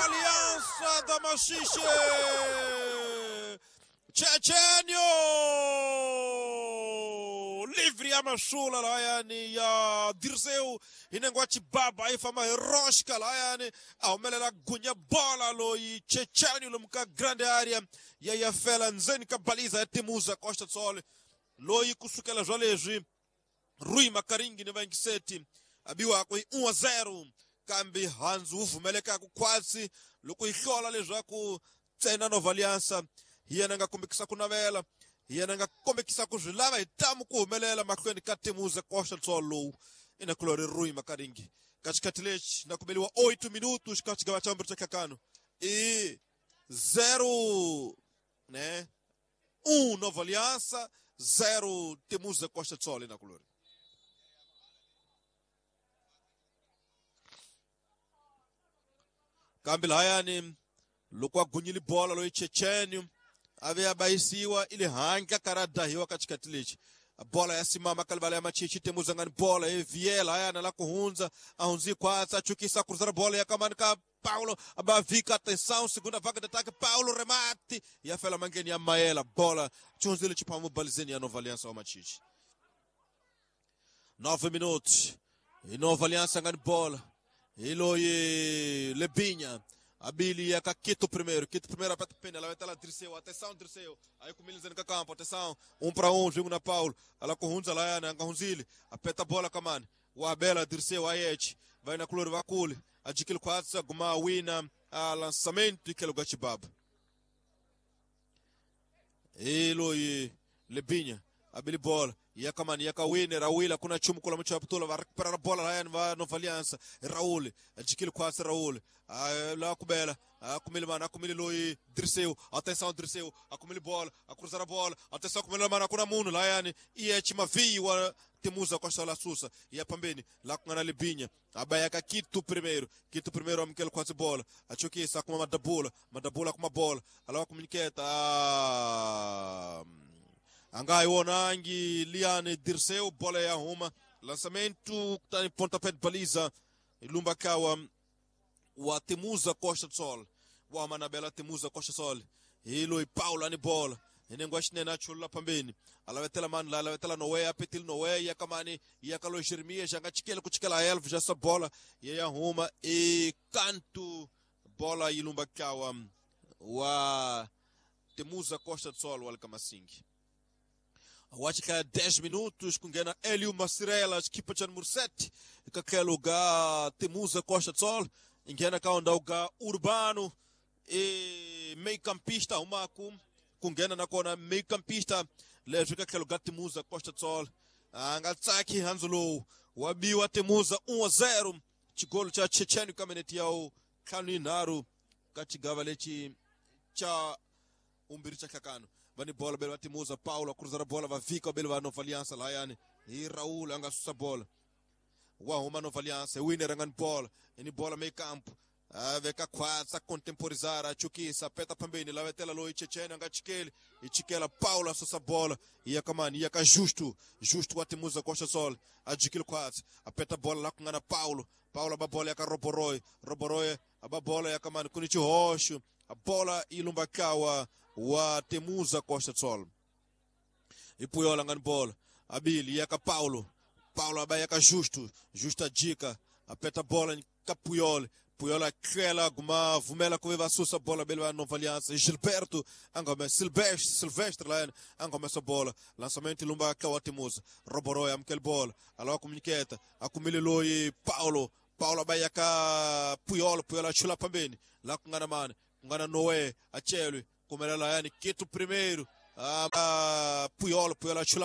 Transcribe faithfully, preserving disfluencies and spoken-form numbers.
Nova Aliança da Maxixe! Chechenio! Livre ya mashula layani ya Dirceu inengwa chibaba ifama rosca layani ahumelela gunya bola loyi Chechenio lomuka grande area ya ya fela ndzeni ka baliza ya Temuza Costa Sol loyi kusukela zwa Rui Makaringi ni vaingiseti abiwa ku um a zero kambe hanzu uvumeleka ku khwatsi loko yi hlola leswaku ntsena Nova Aliança hi yena nga kombekisa ku navela hi yena nga kombekisa ku swi lava hi tamu ku humelela mahlweni ka Temuza Costa Sol lowu ina kulori Rui Makaringi ka xikhathi lexi na kumeliwa oito minutos ka xigava xa vumbirhi xa nhlakano i zero né um Nova Aliança zero Temuza Costa Sol ina kulori kambe lahayani loko a gunyile bola loyi Chechenio a ve a bayisiwa ile handla ka ra dahiwa ka xikhathi lexi bola ya simama ka livala ya Machichi Temuza ngani bola e viela hayana la ku hundza a hundzi khwatsa a chukisa a cruzar bola ya kamani ka Paulo abavika atenção segunda vaga de ataque Paulo remate ya fela mangeni ya Maela bola chunzile chipamu balizeni ya Nova Aliança wa Machichi nove minutos e Nova Aliança ngani bola Iloye Lebinha Abili ya Quito primeiro, Quito primeiro aperta pena, ela vai estar lá Dirceu, atenção Dirceu, aí com o ka campo, atenção, um para um, jogo na Paulo, ela com Hunza lá, na Hunzile, aperta a bola kamani, o Abela Dirceu Ayete, vai na Cloro Vacule, adquire quatro, guma wina, a lançamento e que lugar chibaba. Iloye Lebinha, Abili bola. Yakamani yakawine Raul kuna chumu kula mcho aputula va recuperar a bola lá va Nova Aliança Raul adquire quase Raul lá kubela akumile mana akumile loi Dirceu atenção Dirceu akumile bola a cruzar a bola atenção akumile mana kuna muno lá yani e é Timaviwa Temuza Costa la Susa e a pambeni lá com a Libinha abayaka Quito primeiro Quito primeiro amkele quase bola achokisa kuma madabula madabula kuma bola alawa kuminiketa Angai wonangi Liane Dirceu bola ya huma lançamento tá em pontapé de baliza Lumba kawa wa Temuza Costa do Sol wa Manabela Temuza Costa do Sol Hilo e Paulo ani bola inengwa xinene chula pambeni alavetela mani la alavetela Noé apetil Noé ya kamani ya kalo Jeremias já chikela kuchikela elf já essa bola ya huma e canto bola ilumba kawa wa Temuza Costa do Sol wa Kamasingi Acho dez minutos com Gena Hélio Macirela, equipa de número sete, que aquele lugar Temuza Costa do Sol, em Gena cá onde o Urbano e meio campista, uma com com Gena na cona meio campista, leva aquele lugar Temuza Costa do Sol, angatsaki Hanzolo, o abiu Temuza um a zero, chigolo cha Chechenio kameneti yao Kalinaro, katigava lechi cha umbiri cha kakano. Vani bola bela Temuza Paulo a cruzar a bola vai fica bela Nova Aliança lá yani e Raul anga susa bola wa huma Nova Aliança winner anga bola ni bola meio campo a veka quase a contemporizar a chukisa peta pambeni lá vetela loi Checheno anga chikele e chikela Paulo a susa bola e akamani e aka justo justo wa Temuza Costa Sol a jikil quase a peta bola lá com ana Paulo Paulo a bola e aka Roboroi Roboroi a bola e akamani kunichi roxo a bola e Lumbakawa wa Temuza Costa do Sol. E Puyola ngani bola. Abili yaka Paulo. Paulo abayaka Justo. Justa dica. Apeta bola ka Puyola. Puyola aquela guma vumela com va sussa bola bela Nova Aliança. Gilberto angome Silvestre Silvestre lá angome essa bola. Lançamento lumba ka wa Temuza. Roboroi amkel bola. Alô comuniqueta. Akumile loi Paulo. Paulo abayaka Puyola. Puyola chula pambeni. Lá com ngana mane. Ngana Noé. Achelwe. Como era lá, Quito primeiro, a Puyol, Puyol chula